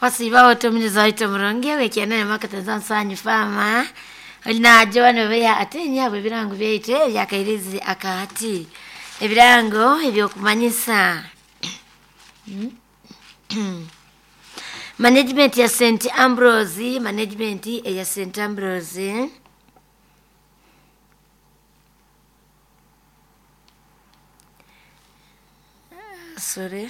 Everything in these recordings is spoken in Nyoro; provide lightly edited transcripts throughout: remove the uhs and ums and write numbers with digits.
Wasiba otomunyuza waitu omurungi wekianene mwaka nsanyu fama olinajo nobeya ate nyabo ebirango byaitu ebyakairizi akahati ebirango ebyokumanyisa management ya St Ambrose, management ya St Ambrose sorry,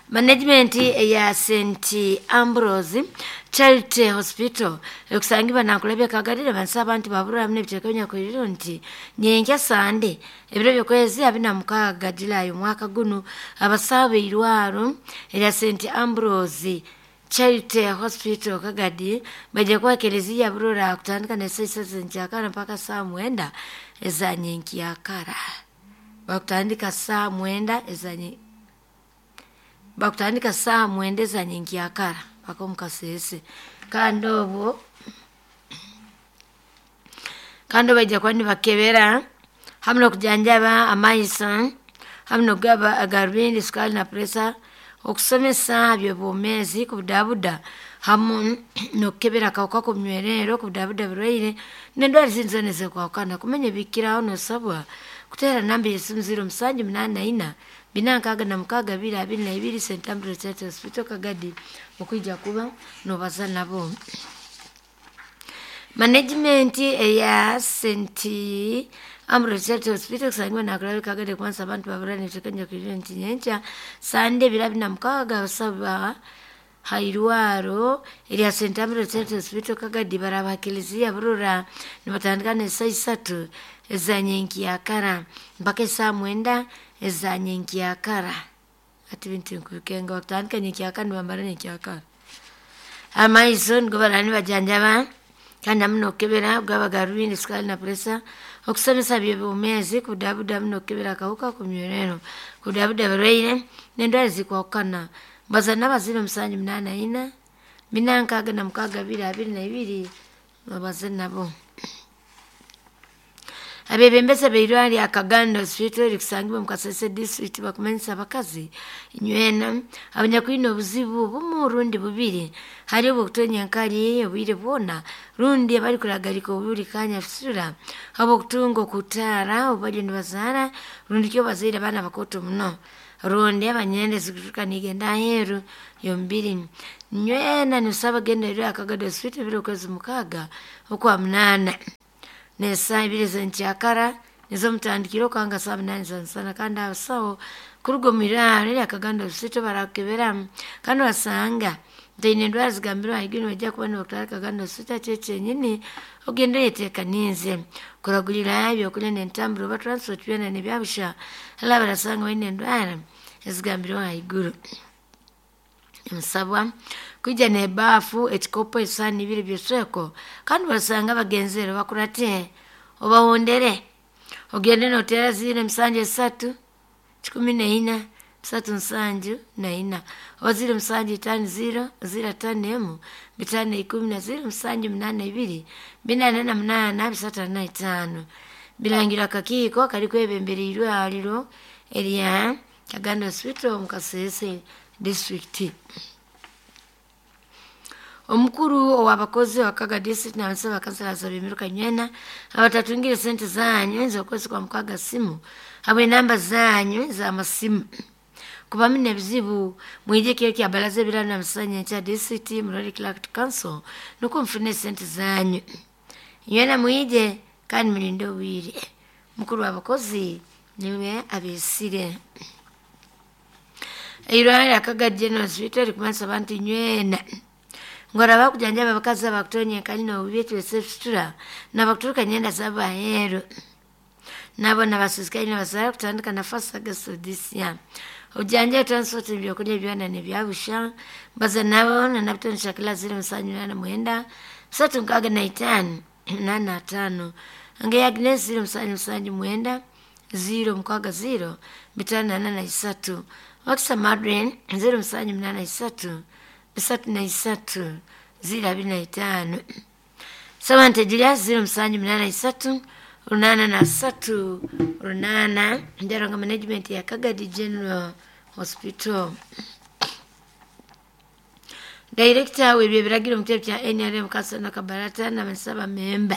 management ya St Ambrose Charity Hospital ekusangibwa nankulabya kagalire bansa abantu babura hamwe n'ebiteeka nyakwiriro nti nyenkya Sande ebiro by'okwezi 26 Julai omwaka guno abasaaba eirwaro erya St Ambrose Charity Hospital Kagadi baija kuba ekereziya burora kutandika na saa isatu zenkyakara mpaka saa 9 eza nyenkyakara. Bakutandika saa 9 eza bakutandika saa 9 eza nyenkyakara paka omukasese. Kandi obwo kandi baija kuba nibakebera hamwe n'okujanjaba amaiso hamwe n'okugaba agarubindi, sukari na pressure, okusomesa by'obwomeezi kubudabuda hamu n'okukebera akawuka k'omunywerero kubudabuda burwaire n'endwara ezindi zoona ezikwahukana. Kumanya ebikiraho noosabwa kuteera namba y'esimu 0784 466 222 St Ambrose Charity Hospital Kagadi okwija kuba noobaza nabo. Management eya St Ambrose Charity Hospital kusangibwa nakulabya Kagadi kumanisa abantu babura n'ebiteeka nyakwiriro nti nyenkya Sande ebiro 26 abasaba hairwaro erya St Ambrose Charity Hospital Kagadi baraba kiliziya burora nibatandika n'esaa isatu eza nyenkyakara mpaka esaa 9 eza nyenkyakara. Ati bintu nkubikenga bakutandika nyenkyakara nibamara nyenkyakara. Amaiso nigo baraba nibajanjaba kandi hamu n'okukebera kugaba garubindi, sukari na pressure, okusomesa by'obwomeezi kubudabuda hamu n'okukebera akawuka k'omunywerero, kubudabuda abarwaire n'endwara ezikwahukana. Mbaza n'abazire 784 466 222 babaze nabo. Abebembezi abeirwaro rya Kagando Hospital erikusangibwa omu Kasese district bakumanyisa abakazi inywena abanyakwine obuzibu bumu rundi bubiri hali obw'okutonya enkari obwire bwona rundi abarikuragarika oburi kanya fisura habw'okutunga okutaara obu bariyo nibazaara rundi kyo bazaire abaana bakooto muno rundi abanyenda ezikuturuka nigenda aheeru y'omubiri. Nywena nitusaba genda erwa Kagando Hospital ebiro okwezi 6 okwa 8 n'esaaha 2 z'enkyakara nizo mutandikire okanga saa 8 za nsana. Kandi abasaho kuruga omu irwaro erya Kagando Hospital barakukebera kandi basanga ntaine endwara zigambirwe ahaiguru nibaija kuba nibakutwara Kagando Hospital kyo kyenyini ogende oyeteekaniize kuragurira ebyokurya n'entambura oba transport byona nibyabusha hali abarasanga baine endwara ezigambirwe ahaiguru. Nsabwa kwija n'ebaafu, ekikopo, esaani ibiri by'esweko kandi basanga abagenzere bakurate obahondere ogende nooteera 073 14 374 oba 0750 051 510 na 0782 488 345. Birangirwa akakiiko karikwebembera eirwariro erya Kagando Hospital omu Kasese district. Omukuru ow'abakozi wa Kaga district n'abasaba bakansalaza b'emiruka nywena abatatungire sente zanyu ez'okwezi kwa 6 simu habw'enamba zanyu ez'amasimu kubamu n'ebizibu mwije kiro kya baraza ebiraro na musanya nkya district murole clerk council nukwo mufune sente zanyu. Nywena mwije kandi mulinde obwire. Mukuru w'abakozi niwe abeesire. Eirwaro rya Kagadi General Hospital rikumanisa abantu nywena ngoraba kujanjaba abakazi abakutonya enkali n'obubi ekibesa ebifitura n'abakuturuka nyenda z'abaheeru nabo nabasiisikaire nibazaara kutandika na 1st August of this year. Obujanjabi, transport, ebyokurya byona nibyabusha mbaza nabo na Shakila 0789 365 85 Ange Agnes 0779 060 543 Wakisa Madrin 0783 303 025 Samantha Julius 0783 803 8 Ndaranga management ya Kagadi General Hospital. Director w'ebyebiragiro mu kitebe kya NRM Kasana Kabarata n'abasaba memba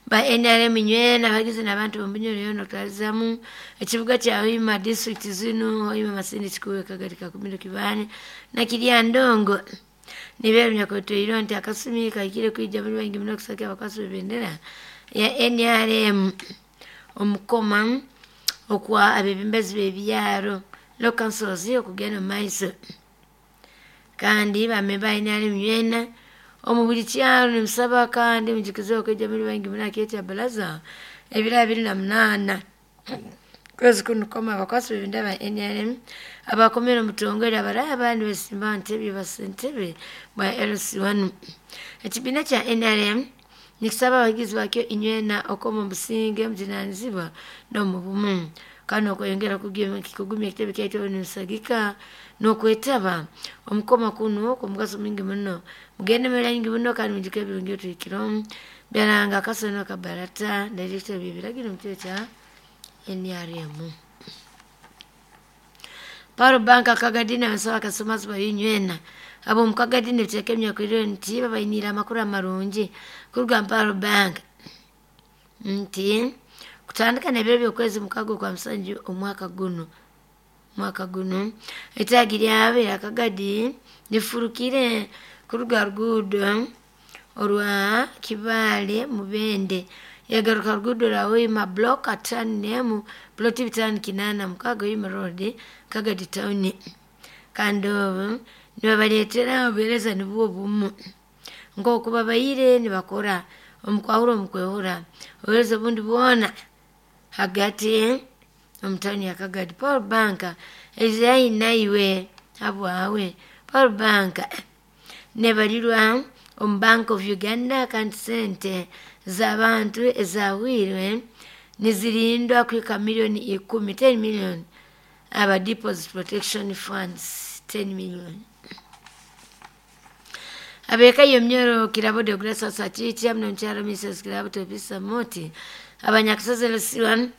ba NRM nywena abagizi n'abantu b'omunyoro yoona okutwalizamu ekibuga kya Hoima, district zinu Hoima, Masindi, Kikuube, Kagadi, Kakumiro, Kibaale na Kiryandongo. Nibeera nyakwetoirwe nti akasumi kahikire kwija muri baingi muno kusakira abakwasi b'ebendera ya NRM omukoma okwa abebembezi b'ebyaro local councils okugenda omu maiso. Kandi bamemba ba NRM nywena omu buli kyaro nimusaba kandi mujukize okwija muri baingi muno aha kya baraza ebiro 28 kwezi kuno kukoma abakwasi b'ebendera ba NRM abakomere omutongole abaraba nibesimba ntebe basentebe bwa LC1. Ekibiina kya NRM nikisaba abagizi bakyo inywena okoma omusinge omujunanizibwa n'omu bumu kandi okweyongera kugumya ekitebe kyaitu nimusagika n'okwetaba omukoma kuno kw'omugaso mwingi muno. Mugende muri baingi muno kandi mujuke ebirungi ebituhikiremu. Byaranga Kasana Kabarata, Director w'ebiragiro mu kitebe kya NRM. Paulo Banka Kagadi n'abasaba akasomasi bainywena ab'omu Kagadi nibiteeka emyakwirire nti babainiire amakuru amarungi kuruga mu Paulo Bank nti kutandika n'ebiro by'okwezi 6 kwa 7 omwaka guno etaagi lyabo erya Kagadi lifurukire kuruga ruguudo orwa Kibaale Mubende yagaruka ruguudo rwa Hoima block 51 ploti 586 Hoima Road, Kagadi Town. Kandi obu nibabareetera obuheereza nibwo bumu nk'oku babaire nibakora omukwahura omukwehura obuheereza obundi bwona hagati omu tawuni ya Kagadi. Paul Bank eizire haihi naiwe habwawe. Paul Bank nebarirwa omu Bank of Uganda kandi sente z'abantu ezahwirwe nizirindwa kuhika milioni 10, 10 million aba deposit protection funds 10 million. Abeka yomnyoro Kirabo de Grace Sachichi amno mcharo Mrs. Kirabo Topisa Moti abanyakisozi LC1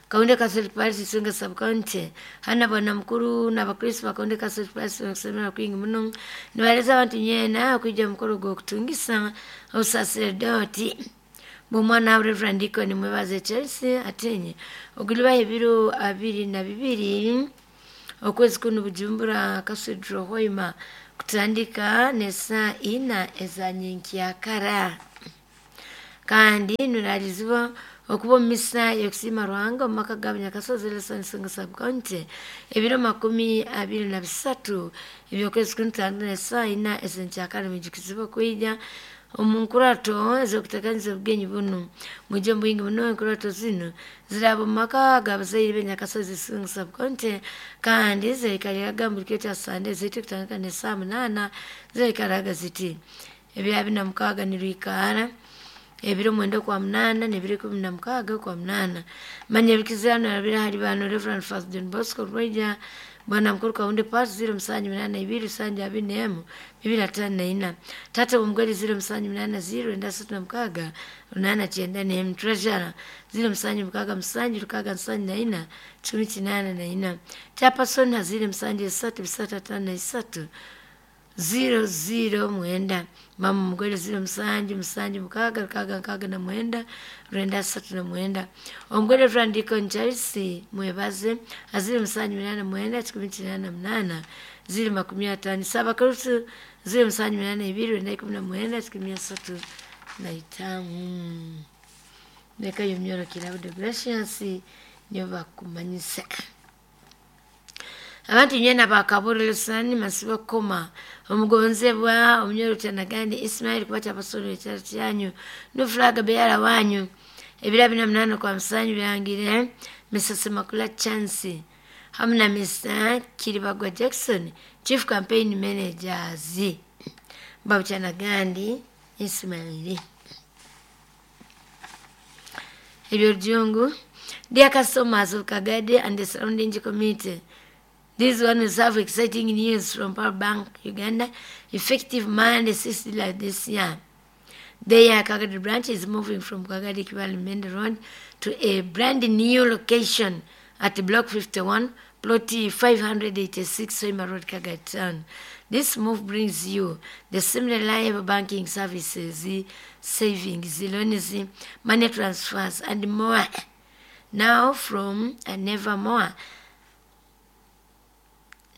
Kaunde Catholic Parish Isunga Sub County hana bwana mukuru n'abakristo ba Kaunde Catholic Parish okusemera kwingi muno nibaleza abantu nyena kwija mukoro gw'okutungisa obusaseredoti bw'omwana wa Reverend Deacon Mwebaze Chelsea atenye ogulibaho ebiro 22 okwezi kuno Bujumbura Cathedral Hoima kutandika n'esaa 4 eza nyenkyakara. Kandi nuralizibwa okuba omu misa y'okusiima Ruhanga omu maka ga Bunyakasozi LC1 Isunga Sub County ebiro 23 eby'okwezi kuno kutandika n'esaa 4 ez'enkyakara. Mwijukizibwa kwija omu nkurato ez'okuteekaniza obugenyi bunu. Mwije omu bwingi muno. Enkurato zinu ziraba omu maka g'abazaire b'Enyakasozi Isunga Sub County kandi zaikariraga buri kiro kya Sande ziti kutandika n'esaa 8 zaikaraga ziti ebiro 26 nirwikaara ebiro 9 kwa 8 n'ebiro 16 kwa 8. Manya ebikizirano nabire hali bano Reverend Father John Bosco Rweja Bwana mukuru Kaunde Pass 0782 721 254 Tata Omugweri 0780 936 891 Treasurer 0767 674 184 Chairperson 07 353 00 Mama Mugweri 07 7 6 6 6 9 9 Omugweri Reverend Deacon Charles Mwebaze 07 8 188 050 Sabakrutu 0782 919 35. Leka yomnyoro Kirabo de Gracious niyo bakumanyisa. Abantu nyena bakaburulisani masibo koma omugonzebwa omunyoro Kyanagandi Ismail kuba kyabasoro ekyalo kyanyu nufulaga beyala wanyu ebiro 48 kwa 7 birangire Mrs. Makula Chance hamwe na Mr. Kiribagwa Jackson Chief Campaign Managers Babu Kyanagandi Ismail. Ebyo Rujungu. Dear customers of Kagadi and the surrounding community, this one is have exciting news from Power Bank Uganda, effective Monday 6 July this year. Their Kagadi branch is moving from Kagadi Kibale Mende Road to a brand new location at Block 51, Plot 586 Hoima Road, Kagadi Town. This move brings you the same reliable banking services, savings, loans, money transfers, and more. Now from and nevermore.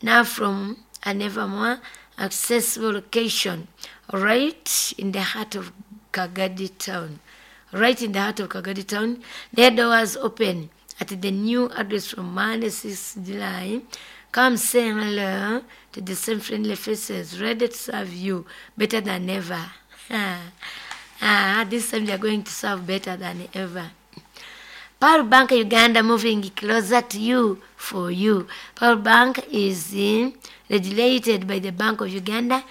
Now from and nevermore accessible location right in the heart of Kagadi Town. Right in the heart of Kagadi Town. Their doors open at the new address from Monday 6 July. Come say hello to the same friendly faces ready to serve you better than ever. This time they are going to serve better than ever. Pearl Bank Uganda moving closer to you for you. Pearl Bank is regulated by the Bank of Uganda,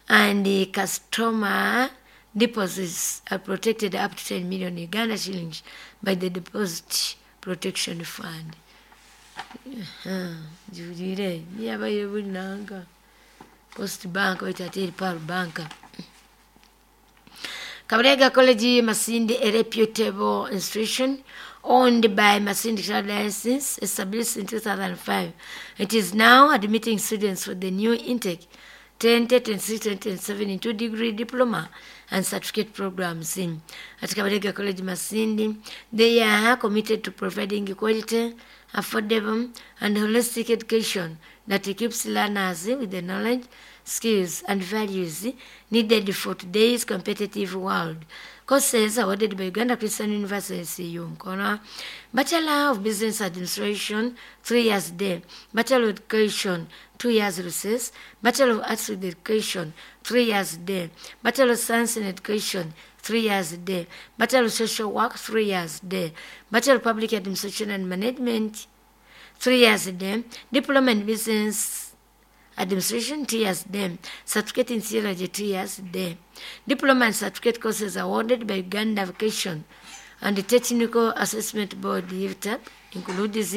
and the customer deposits are protected up to 10 million Uganda shillings by the Deposit Protection Fund. Jurire niyabaye bunanga Post Bank oitateri Pearl Bank. Kabalega College Masindi, a reputable institution owned by Masindi Diocese, established in 2005. It is now admitting students for the new intake 2026-2027 into degree, diploma, and certificate programs. In at Kabalega College Masindi, they are committed to providing quality, affordable, and holistic education that equips learners with the knowledge, skills, and values needed for today's competitive world. Courses awarded by Uganda Christian University, UMCONA: Bachelor of Business Administration, 3 years day; Bachelor of Education, 2 years recess; Bachelor of Arts with Education, 3 years day; Bachelor of Science in Education, 3 years day; Bachelor of Social Work, 3 years day; Bachelor of Public Administration and Management, 3 years day; Diploma in Business Administration, 2 years day; Certificate in Theology, 2 years day. Diploma and certificate courses awarded by Uganda Vocation and the Technical Assessment Board, UVTAB, includes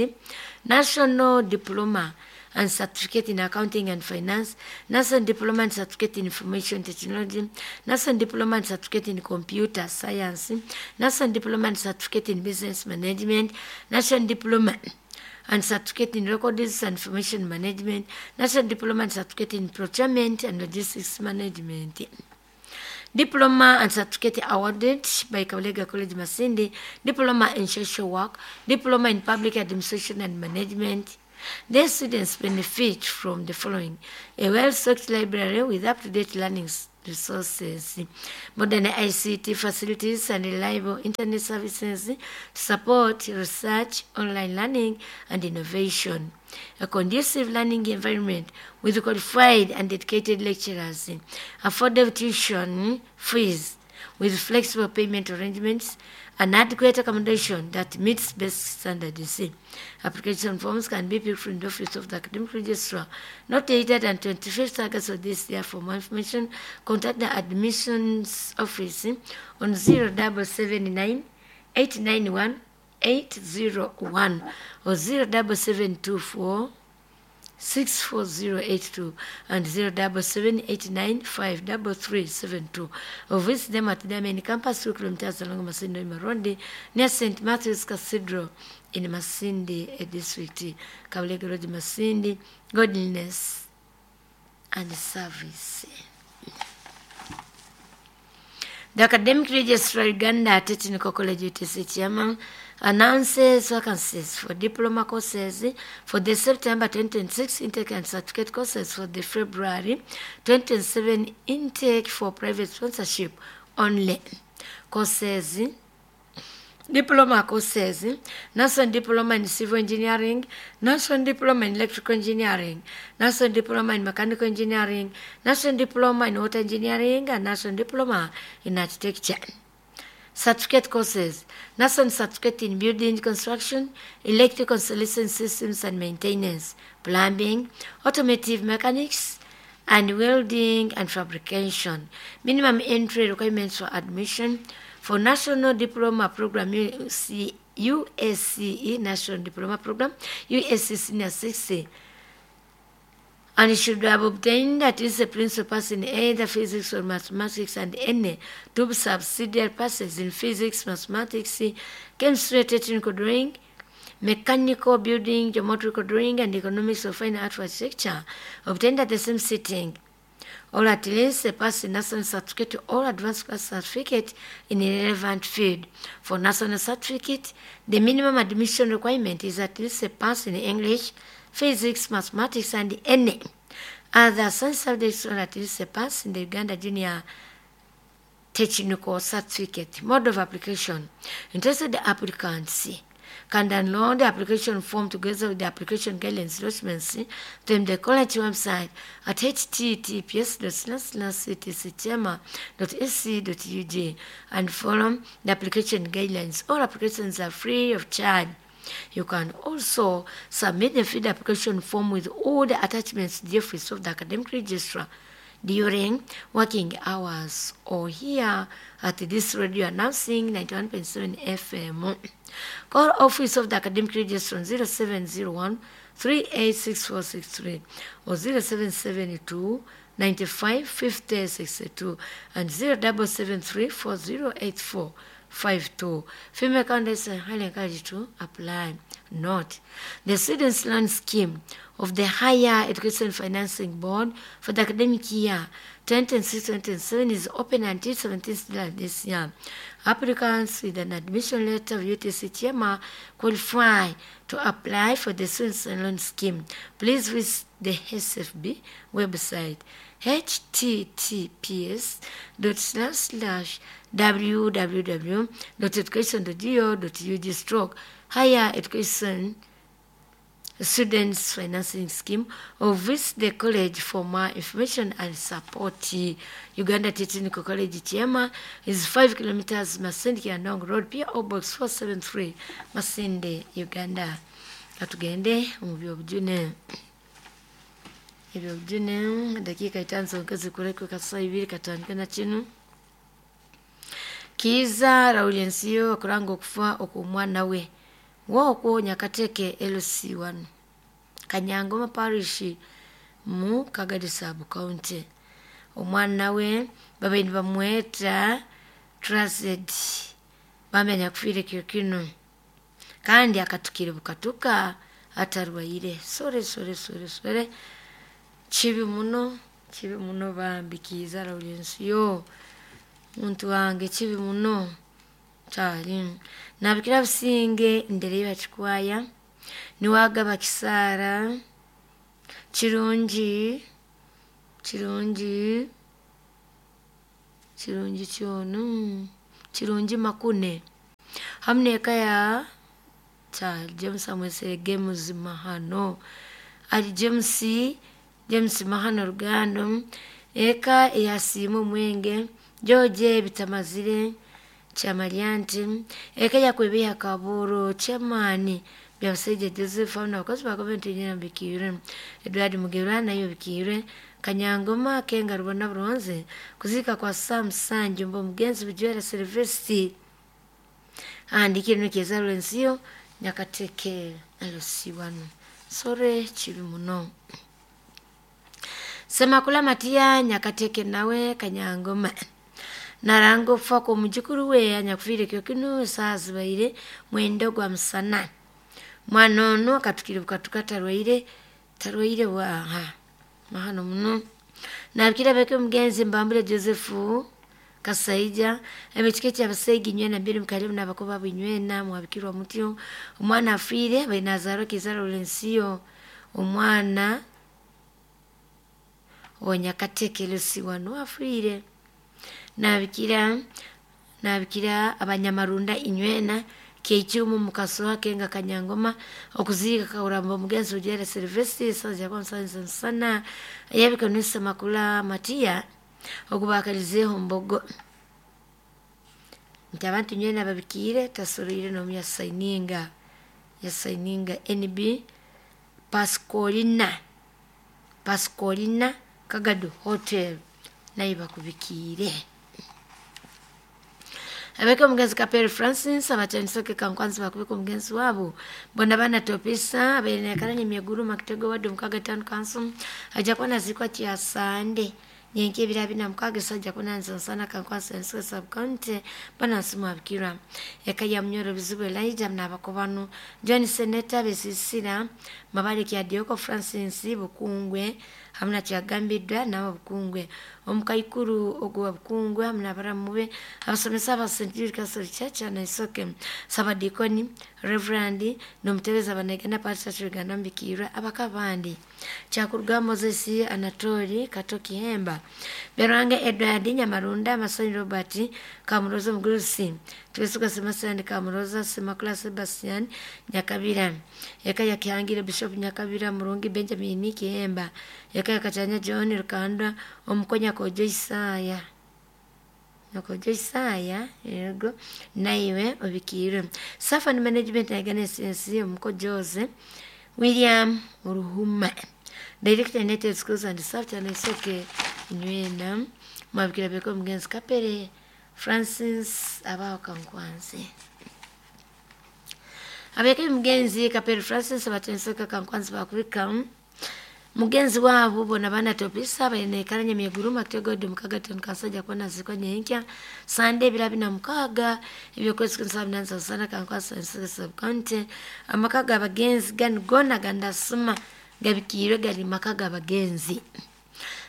National Diploma and Certificate in Accounting and Finance, National Diploma and Certificate in Information Technology, National Diploma and Certificate in Computer Science, National Diploma and Certificate in Business Management, National Diploma and Certificate in Records and Information Management, National Diploma and Certificate in Procurement and Logistics Management. Diploma and certificate awarded by Kabalega College Masindi: Diploma in Social Work, Diploma in Public Administration and Management. Their students benefit from the following: a well-stocked library with up-to-date learning resources, modern ICT facilities and reliable internet services to support research, online learning, and innovation, a conducive learning environment with qualified and dedicated lecturers, affordable tuition fees with flexible payment arrangements, and adequate accommodation that meets best standards. Application forms can be picked from the office of the academic registrar, not later than 25th August of this year. For more information, contact the admissions office on 0779 891 801 or 07724 64082 and 07789533372, or visit them at their main campus, 2 kilometers along Masindi Road near St. Matthew's Cathedral in Masindi District. Kabalega Road, Masindi, godliness and service. The Academic Registrar, Uganda Technical College UTC Chairman, announces vacancies for diploma courses for the September 2026 intake and certificate courses for the February 2027 intake for private sponsorship only. Courses: diploma courses, National Diploma in Civil Engineering, National Diploma in Electrical Engineering, National Diploma in Mechanical Engineering, National Diploma in Water Engineering, and National Diploma in Architecture. Certificate courses: National Certificate in Building Construction, Electrical Installation Systems and Maintenance, Plumbing, Automotive Mechanics, and Welding and Fabrication. Minimum entry requirements for admission for National Diploma Program UC, USCE National Diploma Program USC Senior 60 and should have obtained at least a principal pass in either physics or mathematics and any two subsidiary passes in physics, mathematics, chemistry, technical drawing, Mechanical Building, Geometrical Drawing, and Economics of Fine Art Architecture, obtained at the same sitting, or at least a pass in national certificate or advanced class certificate in a relevant field. For national certificate, the minimum admission requirement is at least a pass in English, physics, mathematics, and any other science subjects, or at least a pass in the Uganda Junior Technical Certificate. Mode of application. Interested applicants can download the application form together with the application guidelines documents from the college website at https://ctcchema.ac.ug and follow the application guidelines. All applications are free of charge. You can also submit the filled application form with all the attachments to the office of the academic registrar during working hours or here at this radio announcing 91.7 FM. Call office of the academic registrar on 0701 386463 or 0772 95 50 62 and 0773 4084 52. Female candidates are highly encouraged to apply. Note, the Students' Loan Scheme of the Higher Education Financing Board for the academic year 2026-2027 is open until 17th July this year. Applicants with an admission letter of UTC Chema qualify to apply for the Students' Loan Scheme. Please visit the SFB website https://www.education.go.ug stroke higher education students financing scheme, or visit the college for more information and support. Uganda Technical College Chema is 5 kilometers Masindi Kiandong Road, PO Box 473, Masindi, Uganda. Katugende mu byobujune. Ebyobujune dakika 5 zonka zikulekwe kasa ibiri katandika na kinu. Kiza Laurensiyo akuranga okufa okw'omwana we wokwo Nyakateke LC1 Kanyangoma Parish mu Kagadi Sub County. Omwana we babaire nibamweta Trusted, bamenya kufiire kiro kinu kandi akatukire bukatuka atarwaire. Sore sore sore sore, kibi muno, kibi muno bambi. Kiza Laurensiyo muntu wange, kibi muno kyali. Nabikira Businge Ndereba Kikwaya niwagaba Kisaara Kirungi Kirungi Kirungi kyonu Kirungi Makune hamu n'eka ya kyali James amwesere Games Mahano ali James James Mahano Rugando eka eyasiima omwenge George Bitamazire Kyamaryanti eka yakwebeha Kaburo Chairman Byabasaija Joseph hamu n'abakozi ba gavumenti nyina bikiire Edward Mugerwa nayo bikiire Kanyangoma Kenga Rubona Buronze kuziika kwa Sam Sanjumba omugenzi Bujwera Silvesti andikire Kiza Laurensiyo Nyakateke LC1. Sore kibi muno. Semakula Matiya Nyakateke nawe Kanyangoma naranga okufa kw'omujukuru we anyakufiire kiro kinu esaaha zibaire 9 gwa musana. Mwana onu akatukire bukatuka tarwaire tarwaire bwaha mahano muno. Nabikira beke omugenzi Mbambule Joseph Kasaija ebikika ekyabasaija inywena mbiri mukalimu n'abakoba abo inywena mwabikirwa mutyo. Omwana afiire abaire nazaarwa Kiza Laurensiyo omwana wa Nyakateke LC1 afiire. Nabikira nabikira abanyamarunda inywena Keichumu Mukasoha Kenga Kanyangoma okuziika Kauramba omugenzi Ujera Silvesti saza kwa sana yabika nusa Makula Matiya okubakalizeho mbogo nti abantu nywena babikiire tasoroire n'omu yasaininga yasaininga NB Pascolina Pascolina Kagado Hotel nayo bakubikiire. Abeka omugenzi Kapere Francis abatandiseke kankwanzi bakubika omugenzi waabo bona bana topisa abaire nakaranya emyeguru Makitego ward mukaga town council ajja kuba naziikwa kyasande Nyenke ebiro 26 esajja kunanza nsana Kankwasa Enseke Sub-County banansi mwabikirwa. Eka ya Munyoro Bizibu Elijah n'abakobanu John Seneta Besisira Mabale Kyadioko Francis Bukungwe hamwe na Kyagambiddwa n'aba Bukungwe omukaikuru ogwa Bukungwe hamwe n'abaramu be abasomesa aba St. Jude Catholic Church Naisoke Sabadikoni Reverend n'omutebezi abanegana Pastor Uganda Mbikirwa abakabandi Kyakuruga Moses Anatoli Kato Kihemba Berwange Edward Nyamarunda Masonyi Robert Kamuroza Mugurusi Twesuka Sebastian Kamuroza Semakula Sebastian Nyakabira Eka ya Kihangire Bishop Nyakabira Murungi Benjamin Kihemba Eka ya Kachanya John Rukanda Omukonya Kojo Isaya Nakojo Isaya yego naiwe obikirwe Safan Management na SNC Omuko Jose William Ruhuma Director United Schools and Staff Naisoke nywena mwabikira beko mugenzi Kapere Francis abaho Kankwanzi abeke mugenzi Kapere Francis abatensoka Kankwanzi bakubika mugenzi wabo bona bana topisa bayenekaranye myeguruma kitegodi mukaga kansajja kona ziko nyenkya sande ebiro 26 ebyokwezi 78 sana Kankwasa Enseke Sub-County amaka g'abagenzi gano gona gandasuma gabikirwe gali maka g'abagenzi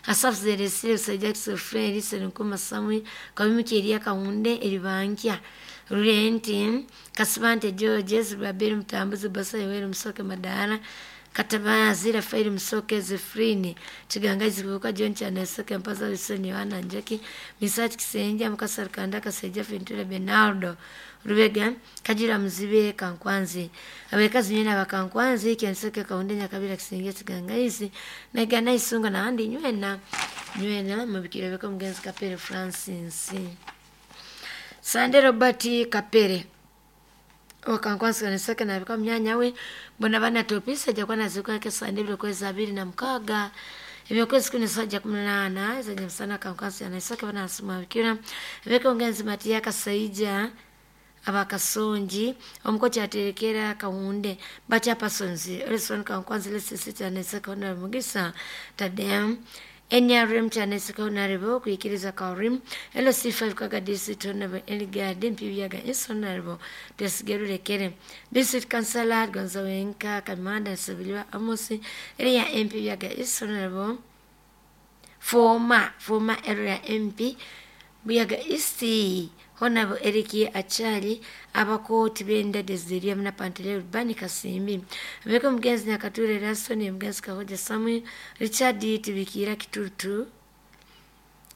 Asafu Zeresire Jackson Fred Senkuma Samuel Kabimiki Elia Kahunde Eribankya Rurenti Kasibante George Zibaberi Mutambuzi Basa Yoweri Musoke Madara Katabazi Rafaeli Musoke Zefrini Chiganga Zibuka John Chaneseke Mpaza Wilson Yohana Njeki Misati Kisenja Mukasa Rukanda Kaseja Ventura Bernardo Rubega Kajira Muzibe Kankwanzi abekazi nywena bakankwanzi Kenseke Kahunde Nyakabira Kisenja Chigangaizi Nagana Isunga na andi nywena nywena mubikire beko mugenzi Kapere Francis Sande Robert Kapere Wakankwansi kanisaka na bika mnyanya we mbona bana topisa jakwa na ziko yake sande bilo kwezi 26 ebyokwezi 18 zenye msana Kankwansi anaisaka bana asuma bikira beko ngenzi Matia Kasaija abakasonji omukochi aterekera Kahunde bacha pasonzi Elson Kankwanzi lesisita anaisaka ona mugisa Tadem NRM chaneseka honorable kuikiriza kaurim LC5 kaga district honorable Eligard Mpibiaga is honorable Tesigerulekere district councillor Gonzawenka Kamanda Sebiliwa Amosi area MP Biaga is honorable former area MP Buyaga East Honorable Eric Achali abakooti benda Desideria mna Panteleo Rubani Kasimbi abeko mugenzi Nyakature Rasoni mugenzi Kahoja Samuel Richard Tibikira Kitutu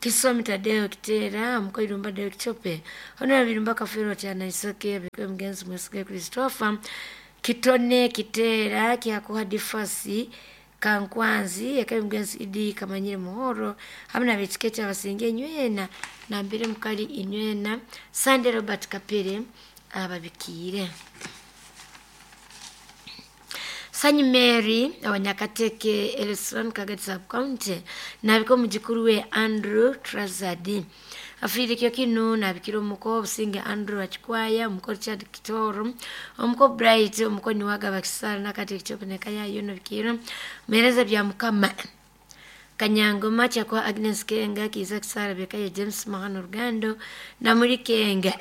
Kisomi Tadeo Kitera Mkoirumba Deo Kichope Honorable Birumba Kafero Chana Isoke abeko mugenzi Mwesige Christopher Kitone Kitera Kiakuha Difasi Kankwanzi yakaye mugenzi Idi Kamanyire Muhoro hamwe na betiketi abasinge nywena nambere mukali inywena Sande Robert Kapere ababikire Sanyi Mary abanyakateke Elson Kagati Sub-County nabiko mujikuru we Andrew Trazadi afirikyo kino nabikira omuko obusinge Andrew Achikwaya omuko Richard Kitoro omuko Bright omuko Niwaga Bakisara nakati kichopeneka yayo nabikira mereza bya mukama Kanyangoma chakwa Agnes Kenga Kiza Kisara Bekaye James Mahano Rugando na muri Kenga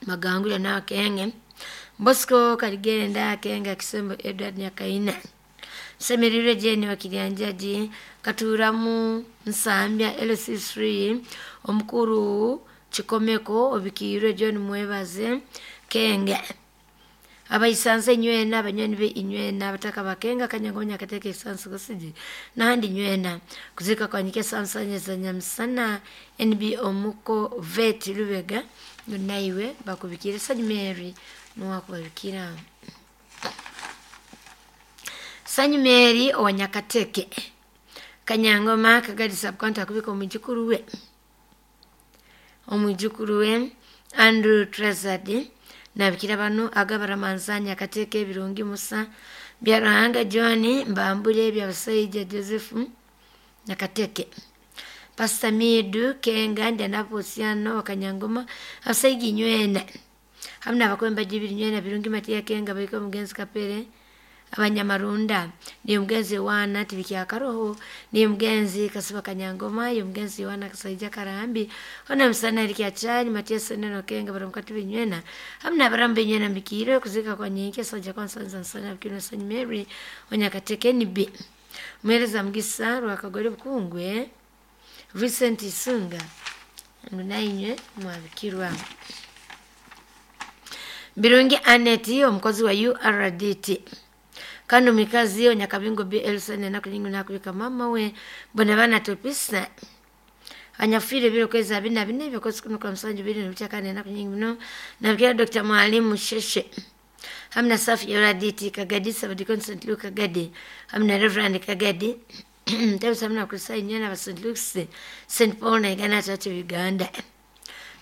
Magangula na Kenge Bosco Kaligenda Kenga Kisembo Edward Nyakaina Semerire Jeni wakilianjaji Katuramu Nsambya LC3 omukuru Chikomeko obikirwe John Mwebaze Kenga abaisanze nywena abanyoni be inywena abataka bakenga Kanyangonya kateke isansu kusiji nahandi nywena kuzika kwanyike sansanye za nyamsana NB omuko vet Lubega naiwe bakubikira Sanyi Mary nuwakubikira Sanyi Mary owanyakateke Kanyangoma Kagadi Sub-County akubika omujukuru we Andrew Trezadi nabikira bano agabaramanzanya kateke ebirungi Musa Byarahanga John Mbambule byabasaija Joseph Nakateke Pastor Midu Kenga ndanaposiano wakanyangoma asaigi nywena hamna abakwemba jibiri nywena birungi Matia Kenga baiko mugenzi Kapere Abanyamarunda niyo mugenzi Yohana Tibikyakaroho niyo mugenzi Kasiba Kanyangoma niyo mugenzi Yohana Kasaija Karambi ona musana Erikyachani Matias Neno Kenga baramukati binywena hamna baramu binywena mbikire kuzika kwa nyenke soja kwa nsanza nsana bikino St Mary onyakateke nibi mwereza mugisa rwakagore bukungwe Vincent Isunga nainywe mwabikirwa. Birungi Aneti omukozi wa URDT kandi omikazi onyakabingo BLC nakulingu nakubika mama we bona bana topisa anyafire biro kweza bina bine byokozi kuno kwa msanju biri nuchakane nakunyingi muno nabikira Dr. Mwalimu Sheshe hamna safi URDT Kagadi Sabadikon St. Luke Kagadi hamna Reverend Kagadi Tebisa hamna kusai nyana wa St. Luke's St. Paul na Uganda Church of Uganda.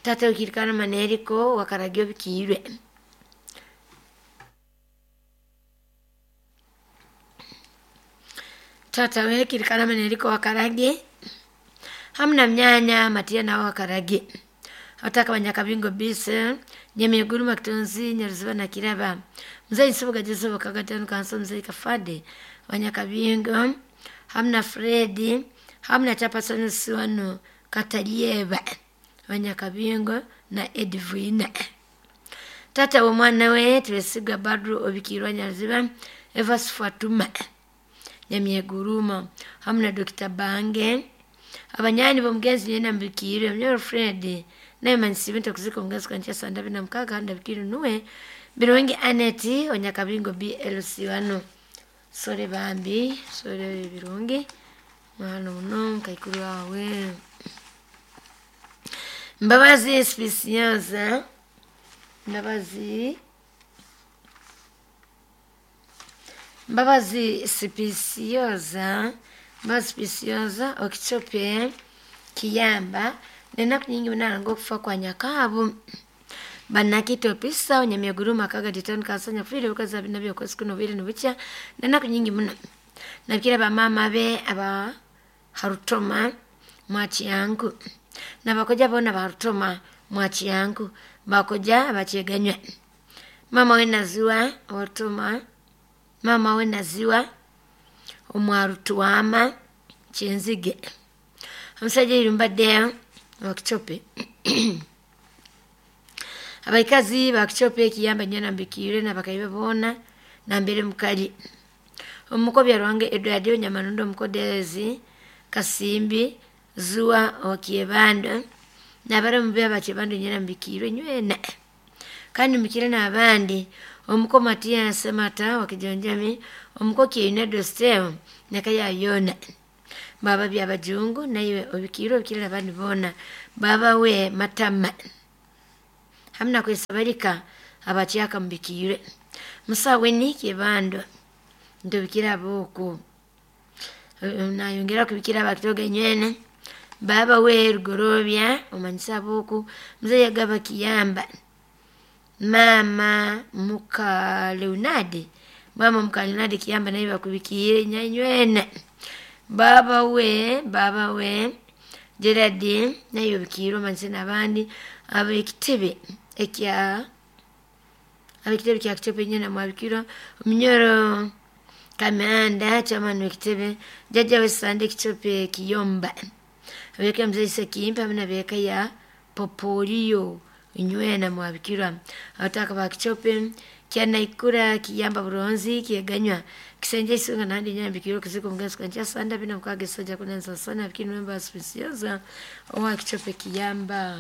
Tata ukirikana maneriko wakaragio bikiirwe. Tata we kirikana maneriko wakarage hamna mnyanya matia na wakarage. Ataka banyakabingo bise nyemiguru makitonzi nyaruziba na kiraba. Mzee nsibuga jesu kagatano kanso mzee kafade banyakabingo hamna Fredi hamna chapasoni siwano katalieba banyakabingo na Edwina. Tata wa mwana we twesiga Badru obikirwa nyaruziba Evas Fatuma nyamyeguruma hamna Dr. Bange abanyani bomgenzi nyena mbikire mnyoro Fred naye mansibinto kuzika omgenzi kwancha sanda bina mkaga handa bikiru nuwe Birungi Aneti onyakabingo BLC wano sore bambi sore Birungi mwana muno kaikuru wawe Mbabazi Spesianza Mbabazi Spesiyoza Mbabazi Spesiyoza okichope kiyamba nenaku nyingi munalanga okufa kwa nyakabu banakito pisa onyamyaguruma kaga ditano kasanya fire bukaza binabyo kwezi kuno biri nubucha nenaku nyingi muno nabikira ba mama be aba harutoma mwachi yangu na bakoja bona barutoma mwachi yangu bakoja abacheganywa mama we naziwa orutoma mama we naziwa omwarutuama chenzige omusajja irumbadde wakichope abaikazi bakichope ekiyamba nyana mbikire nabakaibe bona nambere mukali omukobya rwange Edward Nyamanundo mukodezi Kasimbi zuwa wakiebando nabara mbe abachebando nyana mbikire nywena kandi mbikire nabandi omuko Matia Semata wakijonjami omuko Kiinedo Steo nakaya yona baba bya bajungu naye obikiro obikire nabandi bona baba we matama hamna kwesabalika abakyaka mbikire musawe ni kibando ndobikira boko nayongera kubikira abakitoga nywene baba we rugorobya omanyisa boko mzee yagaba kiyamba mama muka Leonard mama muka Leonard kiyamba naye bakubikiye nyanywene baba we Gerard naye obikiro omanyisa nabandi abekitebe ekya abekitebe kya kitebe nyena mwabikiro omunyoro Kamanda chamano kitebe jaja wesande kichope kiyomba abeka mzee sekimpa mna beka ya popolio nywena mwabikira ataka bakichope kyana ikura kiyamba buronzi kiyeganywa kisenje isunga nandi nyambikiro kiziko mgazi kwancha sanda bina mukage soja kunanza sana bikinu memba spesiyoza owa kichope kiyamba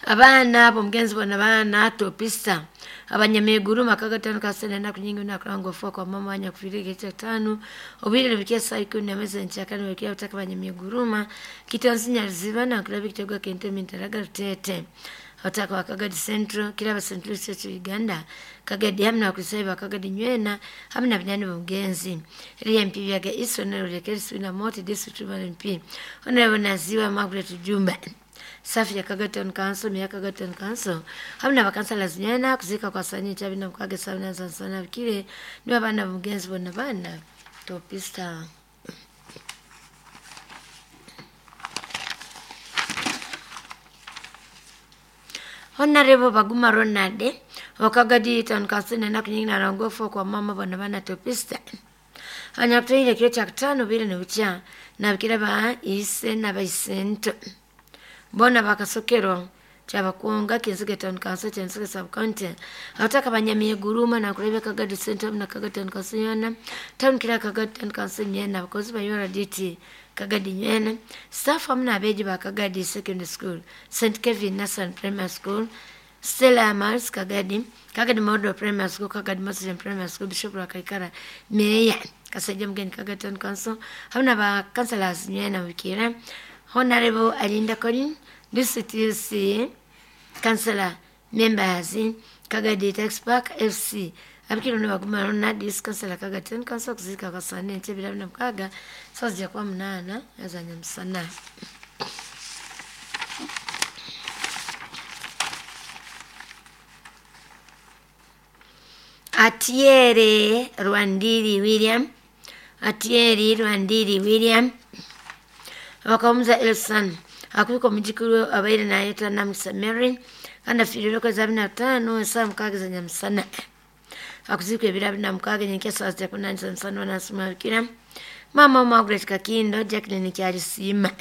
abana abo mgenzi bona bana topisa abanyameguru makagatano kasene na kunyingi na kurango fwa kwa mama anya kufirike cha tano obire bikia saiko na meza nchakani wekia utaka abanyameguruma kitansinya ziba na kulabi kitego kente mintaraga tete otaka wakagadi Central kiraba Central Church Uganda kagadi hamna kusaiba kagadi nywena hamna binyani b'omugenzi eri MP byaga isonero lyekerisu na moti district MP honorable Naziwa Margaret Jumba safi ya Kagaton Council miya Kagaton Council hamna bakansala zinyana kuzika kwa sanyi chabina mukage sabina sansana bikire niba bana b'omugenzi bona bana topista. Honorable Baguma Ronald, Wakagadi Town Council na kunyingi na rongofu kwa mama bana bana topista. Anyakutoile kiro cha kitano bile ni ucha na bikira ba ise na baisento. Bona bakasokero chabakuonga Kinsuke Town Council Kinsuke Sub County. Abataka banyamiye guruma na kulebe Kagadi Center na Kagadi Town Council yona. Town kila Kagadi Town Council nyena abakozi ba URDT Kagadi nyena. Staff hamna abeji ba Kagadi Secondary School, St Kevin National Primary School, Stella Mars Kagadi, Kagadi Model Primary School, Kagadi Muslim Primary School, Bishop Rwakaikara, Meya Kasajja Mugeni Kagadi Town Council, hamna ba councillors nyena wikira. Honorable Alinda Colin, District UC Councillor members Kagadi Tax Park FC abikiro ne baguma na dis councillor Kagadi Town Council kuzika kwa saa nne ntebe na mkaga sasa kwa mnana yazanya msana. Atiere Rwandiri William, Atieri Rwandiri William wakamuza Elson akubika mujikuru abaire nayetwa Namsa Mary kandi afiirire okwezi abiri na tano esaawa mukaaga za nyamusana. Akuzikwa ebiro abiri na mukaaga nyenkya saawa zita kunani za musana wanasumabikira mama Margaret Kakindo Jacqueline Kyalisiima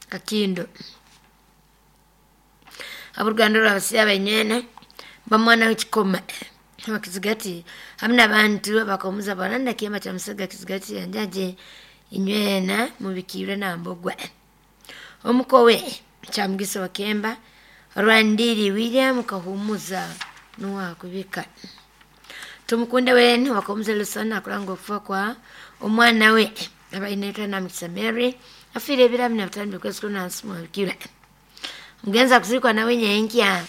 Kakindo aboluganda lwabasiya banywena bamwana w'ekikoma bakizigati hamwe n'abantu bakamuza baranda kiyama kya musega kizigati yanjaje inywena mubikirwe nambogwa omukowe kyamugisa wakemba Rwandiri William kahumuza nuwakubika tumukunde wene wakamuza lusana akulanga okufa kwa omwana we abainetwa Namukisa Mary afiire ebiro abiri na bitaano by'okwezi kunansimwabikirwe omugenzi akuzikwa nawe nyenkya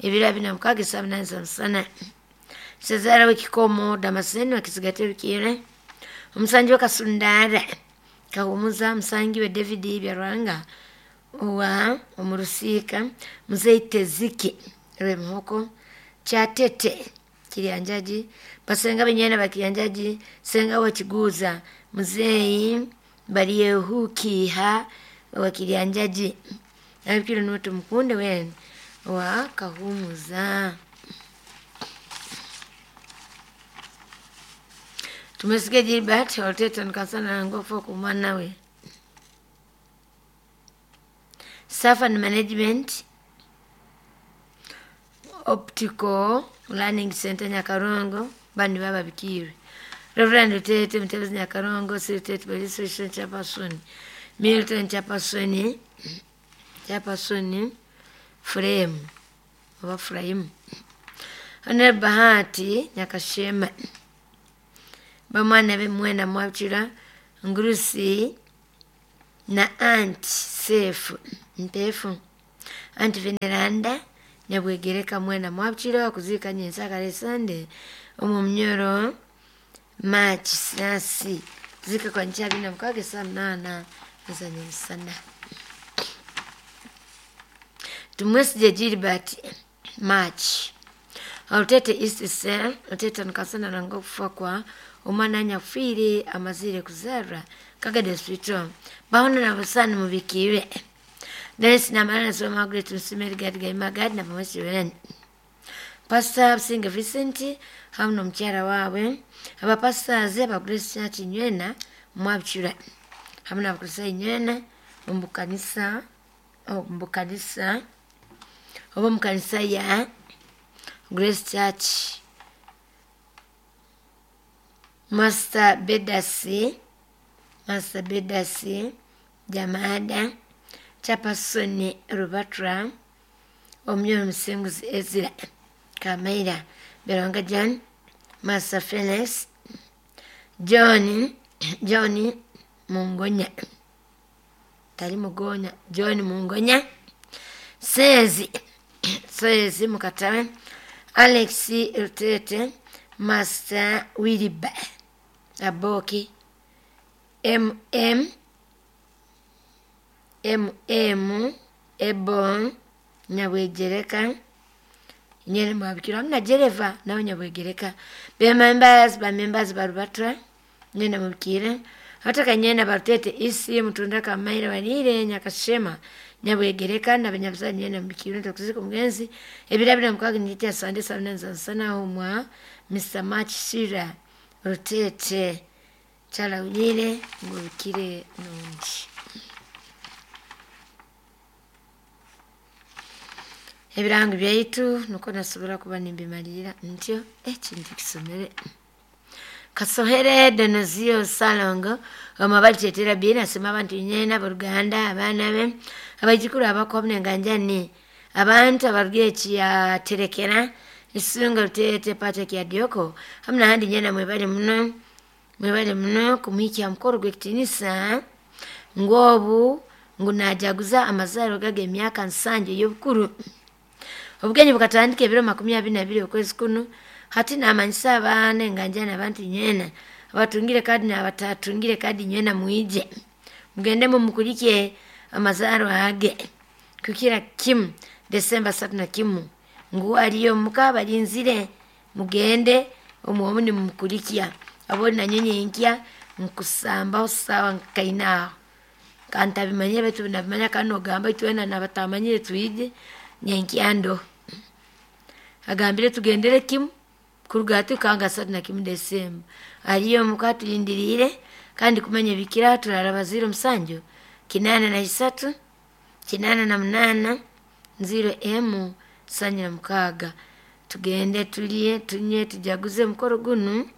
ebiro abiri na mukaaga esaawa munaana za musana. Sezara w'ekikomo Damascene wakizigati ebikire omusangi w'ekasundara kahumuza musangi we David Byarwanga owa omurusiika muzeyi Teziki Rwemuhoko Kyatete Kiryanjaji basenga benyena bakiryanjaji senga wakiguza muzeyi Baryehukiha wa Kiryanjaji abikire n'otu mukunde wene wa kahumuza. Tumesikia Gilbert Olteton kasana ngofo kumwana we. Staff and Management Optical Learning Center Nyakarongo bandi baba bikirwe. Reverend Lutete Mutebezi Nyakarongo State Police Station Chairperson Milton Chairperson Chairperson Frame oba Frame Honorable Bahati Nyakashema bamwana be mwenda mwabukira Ngurusi na Aunt Sefu Mpefu Aunt Veneranda Nyabwegereka mwenda mwabukira kuzika nyensakale Sunday omu munyoro March sasi zika kwa nchi abiri na mukaaga saa munaana za nyamusana. Tumwesije Gilbert March Olutete East Cell Olutete nkasana nanga okufa kwa omwana anyakufiire amazire kuzarwa Kagadi Hospital bahona na busani mubikire Dennis Namara na Margaret Musimeri Gadi Gaimagadi na Pamwesi Wene Pastor Businge Vincent hamu n'omukyala waabwe abapastors aba Grace Church Nywena mwabukira hamu n'abakristaayo Nywena omu kanisa oba omu kanisa ya Grace Church Master Bedasi Jamada Chairperson Rubatra Omuyoro Musinguzi Ezra Kamaira Beronga John Master Felix John Mungonya tali Mugonya John Mungonya Sezi Mukatawe Alex Rutete Master Williba Aboki MM Ebon Nyabwegereka nyene mwabikira hamna Jereva nawe Nyabwegereka be members ba Rubatra nyene mubikire Abatakanyena barutete isi mutunda kamaire balire Nyakashema Nyabwegereka n'abanyabuzani nyena mubikiro tukuzika omugenzi ebirabira mukaaga nijja Sande 7 omwa Mr. Machishira Rutete kyalawulire ngubikire nungi. Ebirango byaitu nuko nasobora kuba nimbimalira ntyo ekintu kisomere. Kasohere Donozio Salongo omabali bina asema abantu nyena aboluganda abaana be abaijukuru abakwabune nganjani abantu abarugiye ya terekera isunga Rutete Patrick ya Dioko hamna handi nyena mwebale muno mwebale muno kumwikya mukoro gw'ekitinisa ngobu ngunajaguza amazaro gage emyaka 7 y'obukuru. Obugenyi bukatandika ebiro 22 okwezi kuno hati namanyisa abaana enganjana abantu nyena abatungire kadi n'abatatungire kadi nyena mwije mugende mumukulike amazaro age kukira kimu Desemba 31 ngu aliyo muka balinzire mugende omuomuni mumukulikia aboni na nyenye nkya nkusamba sawa nkaina kanta bimanye betu nabimanya kano gamba itwena nabatamanyire tuije nyenkyando agambire tugendere kimu kuruga kanga 31 Desemba aliyo mukatulindirire kandi kumanya bikira turaraba 07 83 88 0 M 76 tugende tulie tunye tujaguze mukoro gunu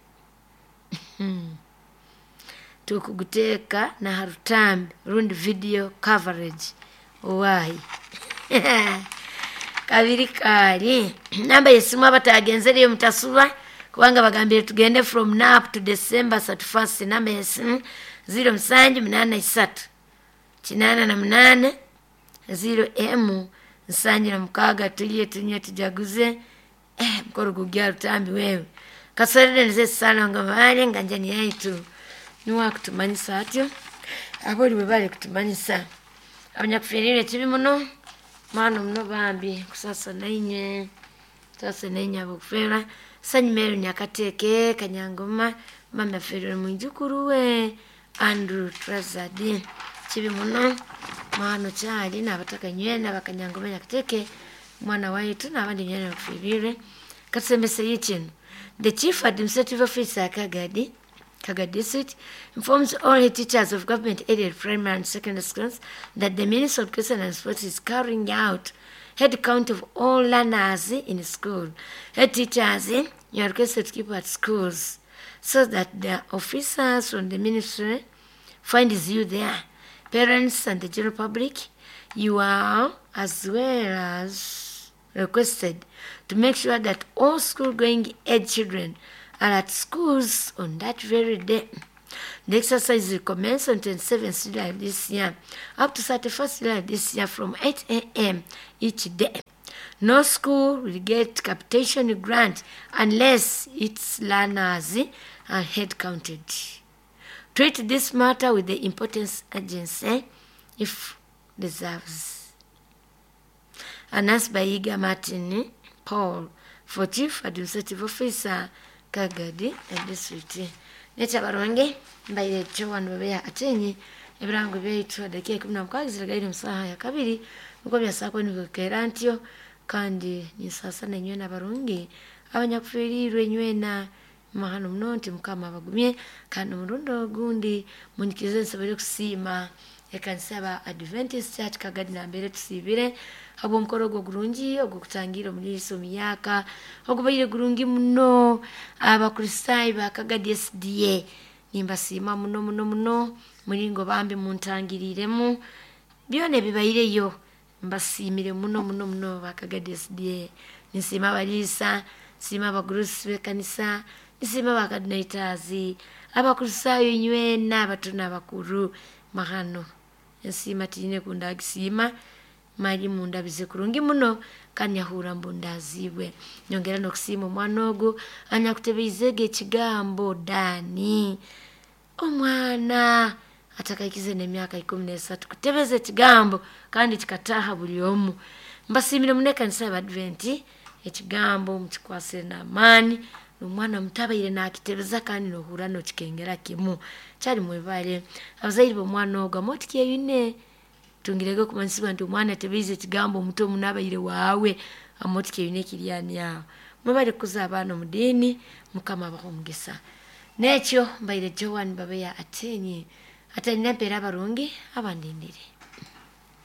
tukuguteka na harutambi rundi video coverage owahi kabiri kali namba yesimu abatagenzere mutasuba kubanga bagambire tugende from now up to December 31. Namba yesimu 0783 88 0 M 76 tulie tunye tujaguze mukoro gugya rutambi wewe kasorere nze salongo bale nganjani yaitu niwa kutumanyisa atyo aboli bwe bali kutumanyisa abanyakuferire kibi muno mwana muno bambi kusasa nainye sasa nainye abokufera sanyimero Nyakateke Kanyangoma mama ferere mwijukuru we Andrew Trazadi kibi muno mwana kyali n'abataka nywena bakanyangoma Nyakateke mwana waitu n'abandi nywena bakuferire katusembese yikino. The Chief Administrative Officer Kagadi District informs all the teachers of government aided primary and secondary schools that the Ministry of Education and Sports is carrying out head count of all learners in school. Head teachers, you are requested to keep at schools so that the officers from the ministry finds you there. Parents and the general public, you are as well as requested to make sure that all school-going age children are at schools on that very day. The exercise will commence on 27th July this year, up to 31st July this year from 8 a.m. each day. No school will get capitation grant unless its learners are head counted. Treat this matter with the importance agency if deserves. Announced by Iga Martin Paul for Chief Administrative Officer Kagadi and District. Necha baronge mbaire chowanu bebea atenyi ebirango byaitu dakika 16 ziragaire musaha ya kabiri nuko byasako nibukera ntyo kandi nisasa nenywe nabarungi abanyakufirirwe nywena mahano muno nti mukama abagumye kandi omurundo ogundi munyikize nsobole kusiima ekanisa ba Adventist Church Kagadi nambere tusibire habwo omukoro ogwo gurungi ogw'okutangira omuriisa omuyaka ogubaire gurungi muno abakristaayo ba Kagadi SDA nimbasiima muno muno muno muringo bambi muntangiriremu byona ebibaireyo mbasiimire muno muno muno ba Kagadi SDA. Nsiima abariisa, nsiima abagurusi b'ekanisa, nsiima abakadinaitazi, abakristaayo nywena abato n'abakuru mahano ensiima tiine kundagisiima mali mundabize kurungi muno kandi nyahura mbundazibwe. Nyongera n'okusiima omwana ogu anyakutebeizege ekigambo Dani, omwana atakaikize n'emyaka 13 kutebeza ekigambo kandi kikataha buli omu. Mbasiimire muno ekanisa y'Abadventi ekigambo mukikwasire n'amaani N'omwana muto abaire nakitebeza kandi nohurra nokikengera kimu. Kyali mwebale abazaire b'omwana ogu amotikyeyune, tungirege okumanyisibwa nti omwana atebeize ekigambo omuto muno abaire waawe, amotikyeyune ekiryani aho. Mwebale kukuza abaana omu diini, Mukama abahe omugisa. N'ekyo mbaire Joan Babeya Atenyi, atalina empeera abarungi abandindire.